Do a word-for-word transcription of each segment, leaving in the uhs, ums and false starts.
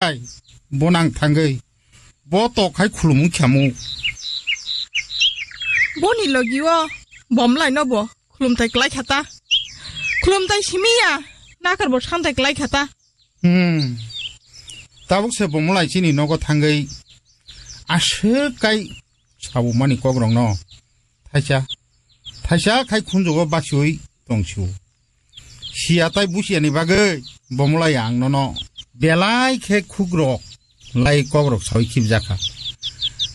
Ai, bo nang thangwi. Bo tok hai khulumung khamu. Boni logi o Bomlai no bo khulumthai klai khata. Khulumthai simiya, nakar bo samthai klai khata. Hmm. Tabuk se Bomlai chini nogo thangwi aswk kai sabumani kokrokno thaisa, thaisa khai khunjugo bachiwi tongsiu. Siya tai busiya ni bagwi Bomlai ang nono belai khe khukrok lai kokrok sawi khibjakha.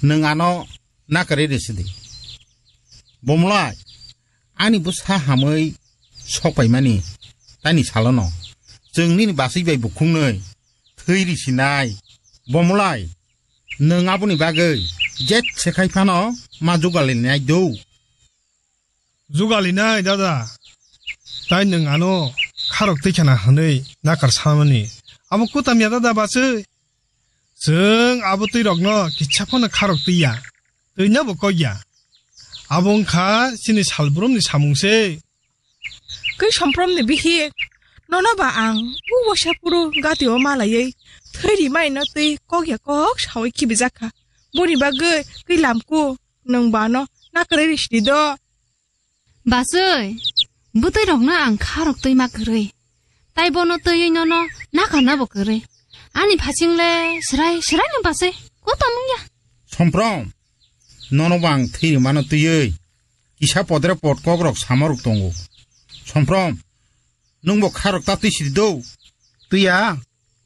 Nwng ano nakarwi rwsidi. Bomlai, ani bwsa hamwi sokpaimani taini salono chwng nini baswi bai bukhungnwi thwi risinai. Bomlai, nwng aboni bagwi jet se khai phano ma jugalinai do. Jugalinai dada, tai nwng ano kharok twi khana hwnwi nakar samani. Abo kutam ya dada bachwi. Chwng abo twi rokno kisa phano kharok twi ya. Twino bo kok ya. Abo wngkha chini salbrumni samung se. Kwi Somprom ni bihik, nono ba ang u wasa puru gati o malaiwi thwi rimai no twi kok ya kok sawi khibijakha. Boni bagwi kwi lamku nwng ba no nakarwi risidi do. Baswi, bwtwi rokno ang kharok twi ma kwrwi. Tai bono twiwi nono nakarna bo kwrwi. Ani phasing le srai srai no baswi. Kotam wngya. Somprom, nono bo ang thwi rimano twiwi. Kisa podre pod kokrok samorok tongo. Somprom, nwng bo kharok ta twi sidi do. Twiya,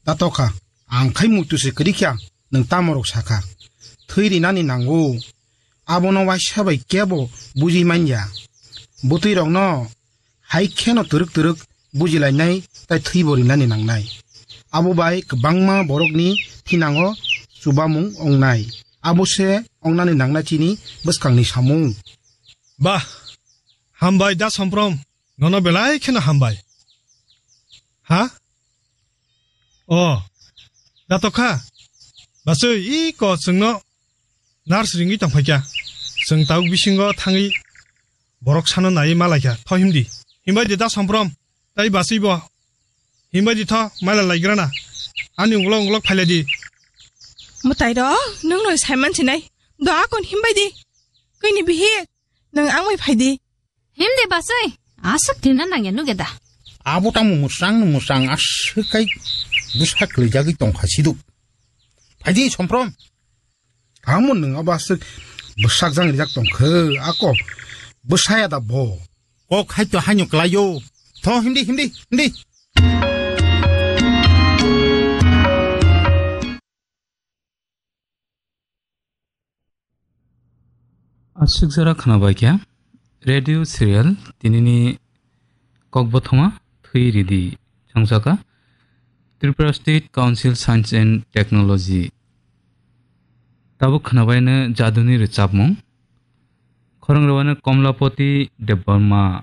ta tokha. Ang khai muitu se kwrwi kha, nwng tamorok sakha. Thwi rinani nango. Abono waisa bai kebo buji manya. Bwtwi rokno hai kheno twrwk twrwk bujilainai tai thwibo rinani nangnai. Abo bai kwbangma borokni thinango chubamung ongnai. Abo se ongnani nangnai chini bwskangni samung. Bah, hambai da Somprom, nono belai kheno hambai. Ha? O, da tokha. Baswi, i ko chwngno nurse ringwi tongphaikha. Chwng tabuk bisingo thangwi borok sano naiwi malaikha. Tho himdi. Himbai di da Somprom. Tai baswi bo. Himbai di tho, maila laigrana. Ani ungulok ungulok phailai di. Mwtai rok, nwng no saiman sinai. Do akon himbai di. Kwini bihik, nwng ang bai phai di. Himdi baswi, aswk tina nangya nuge da. Abo tamo mwsang no mwsang aswk kai bwsa kwlaijagwi tongkha siduk. Phaidi Somprom. Tamo nwng abo aswk bwsak jang rijak tongkhe ako bwsaya da bo. Kok hai to haino kwlaio. Tho himdi, himdi, himdi. Aswk jora khwnabaikha radio serial tinini kokbothoma Thwi Ridi chongchaka Tripura State Council Science and Technology. Tabuk khwnabaino jaduni rwchapmung. Khorang rwano Komlapati Debbarma.